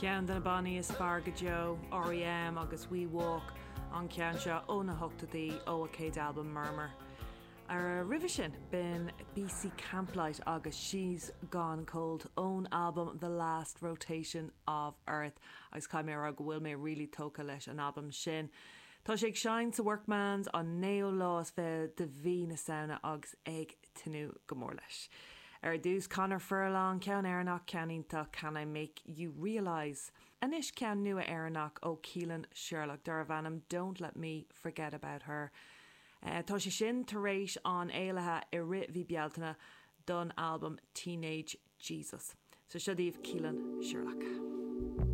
Ceann de na bannaí is fearr go deo, R.E.M. agus We Walk, an ceann seo ó na hochtóidí, ó a céad albam Murmur. Roimhe sin, b'in BC Camplight agus She's Gone Cold ón albam The Last Rotation of Earth agus caithfidh mé a rá go bhfuil mé really tógtha leis an albam sin. Tá sé ag seinnt sa Workman's an naoú lá is fiche de mhí na Samhna agus ag tnúth go mór leis. Ar dtús, Conor Furlong, ceann Éireannach, ceann iontach, Can I Make You Realise? Anois ceann nua Éireannach ó Keelan Sherlock darbh ainm Don't Let Me Forget About Her. Tá sé sin tar éis an éilithe i rith mhí Bealtaine don albam Teenage Jesus. So seo daoibh Keelan Sherlock.